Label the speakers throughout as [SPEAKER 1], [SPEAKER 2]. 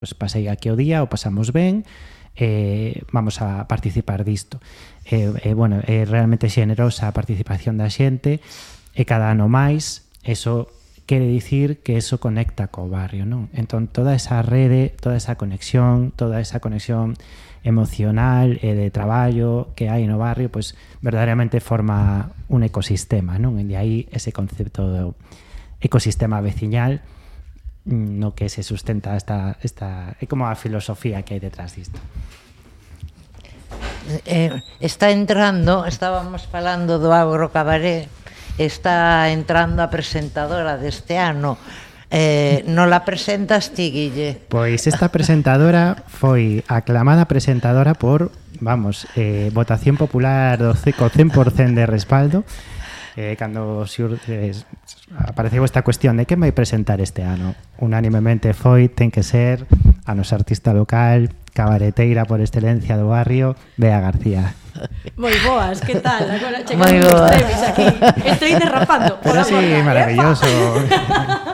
[SPEAKER 1] pues pasei aquí o día, o pasamos ben, vamos a participar disto. Bueno, é realmente xenerosa a participación da xente, e cada ano máis, eso quere dicir que eso conecta co barrio, non? Entón, toda esa rede, toda esa conexión emocional e de traballo que hai no barrio, pois verdadeiramente forma un ecosistema, non? E de aí ese concepto do ecosistema veciñal no que se sustenta esta é como a filosofía que hai detrás disto.
[SPEAKER 2] Está entrando, estábamos falando do Agro Cabaret, está entrando a presentadora deste ano. Non la presentas ti, Guille?
[SPEAKER 1] Pois esta presentadora foi aclamada presentadora por, votación popular do 100% de respaldo. Cando apareceu esta cuestión de quen vai presentar este ano, unánimemente ten que ser a nosa artista local, cabareteira por excelencia do barrio, Bea García.
[SPEAKER 3] Moi boas, que tal? Agora chegamos os trevis aquí. Estoy derrapando.
[SPEAKER 1] Pero sí, maravilloso.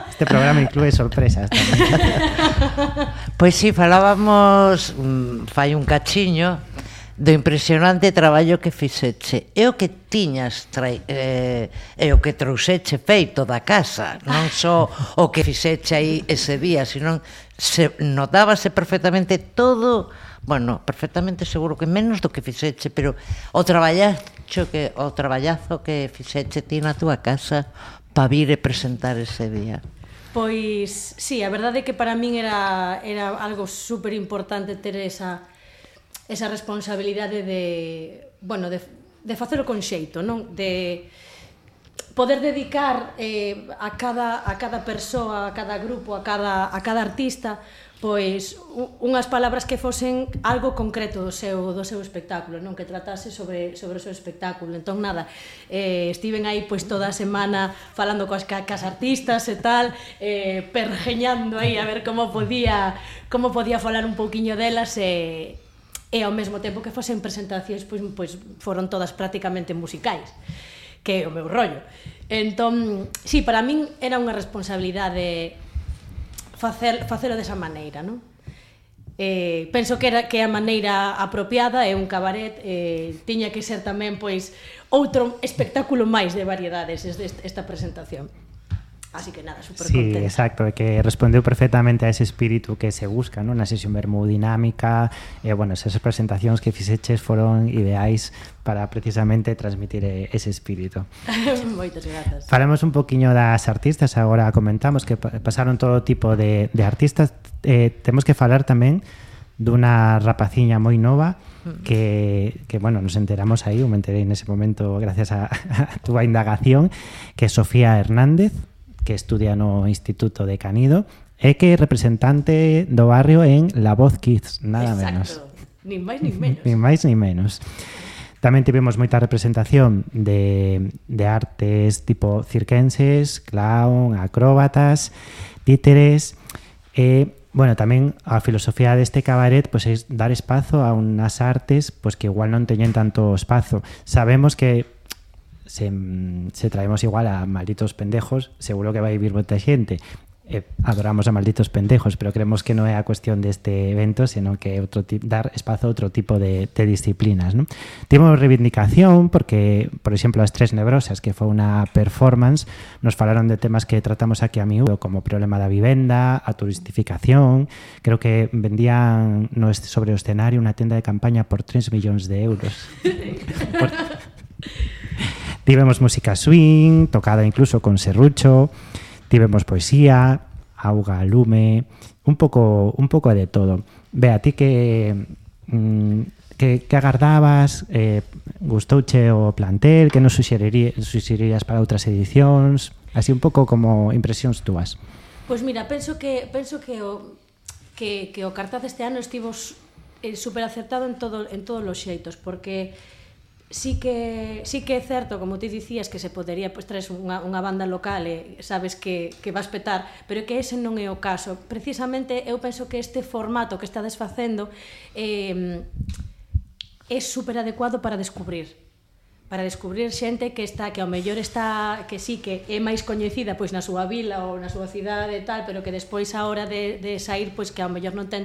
[SPEAKER 1] Este programa inclúe sorpresas tamén.
[SPEAKER 2] Pois si, falábamos fai un cachiño do impresionante traballo que fixeche. É o que tiñas é o que trouxeche feito da casa, non só o que fixeche aí ese día, sino notábase perfectamente todo, bueno, perfectamente seguro que menos do que fixeche, pero o traballazo que fixeche ti na túa casa para vir e presentar ese día.
[SPEAKER 3] Pois, sí, a verdade é que para min era algo super importante ter esa responsabilidade de facelo con xeito, non? De poder dedicar a cada persoa, a cada grupo, a cada artista, pois unhas palabras que fosen algo concreto do seu espectáculo, non? Que tratase sobre o seu espectáculo. Entón, nada, estiven aí pois toda a semana falando coas artistas e tal, pergeñando aí a ver como podía falar un pouquiño delas e ao mesmo tempo que fosen presentacións pois foron todas prácticamente musicais, que é o meu rollo. Entón, sí, para min era unha responsabilidade facelo desa maneira, non? Penso que é a maneira apropiada, é un cabaret, tiña que ser tamén pois outro espectáculo máis de variedades esta presentación. Así que nada, super contenta.
[SPEAKER 1] Sí, exacto, que respondeu perfectamente a ese espírito que se busca, non? Na sesión vermoudinámica, bueno, esas presentacións que fixeches foron ideais para precisamente transmitir ese espírito.
[SPEAKER 3] Moitas grazas.
[SPEAKER 1] Falamos un poquinho das artistas, agora comentamos que pasaron todo tipo de artistas. Temos que falar tamén dunha rapaciña moi nova que bueno, nos enteramos aí, eu me enterei nese momento gracias a túa indagación, que é Sofía Hernández, que estudia no Instituto de Canido e que é representante do barrio en La Voz Kids, nada menos.
[SPEAKER 3] Exacto, nin máis nin menos.
[SPEAKER 1] Nin máis nin menos. Tamén tivemos moita representación de artes tipo cirquenses, clown, acróbatas, títeres e, bueno, tamén a filosofía deste cabaret pois é dar espazo a unhas artes pois que igual non teñen tanto espazo. Sabemos que se traemos igual a Malditos Pendejos, seguro que vai vivir moita xente. Adoramos a Malditos Pendejos, pero creemos que non é a cuestión deste evento, senón que é dar espazo a outro tipo de disciplinas, non? Tivemos reivindicación porque, por exemplo, as Tres Nebrosas, que foi unha performance, nos falaron de temas que tratamos aquí a miúdo, como o problema da vivenda, a turistificación. Creo que vendían sobre o escenario unha tenda de campaña por 3 millóns de euros. Tivemos música swing, tocada incluso con serrucho, tivemos poesía, auga, lume, un pouco de todo. Bea, ti que agardabas, gustouche o plantel, que nos suxerirías para outras edicións, así un pouco como impresións túas.
[SPEAKER 3] Pois mira, penso que o cartaz deste ano estivo super acertado en todos os xeitos, porque sí que é certo, como ti dicías, que se podería traes unha banda local e sabes que vas petar, pero que ese non é o caso. Precisamente eu penso que este formato que estades facendo é super adecuado para descubrir, para descubrir xente que ao mellor está, que sí, que é máis coñecida pois na súa vila ou na súa cidade e tal, pero que despois a hora de sair, pois que ao mellor non ten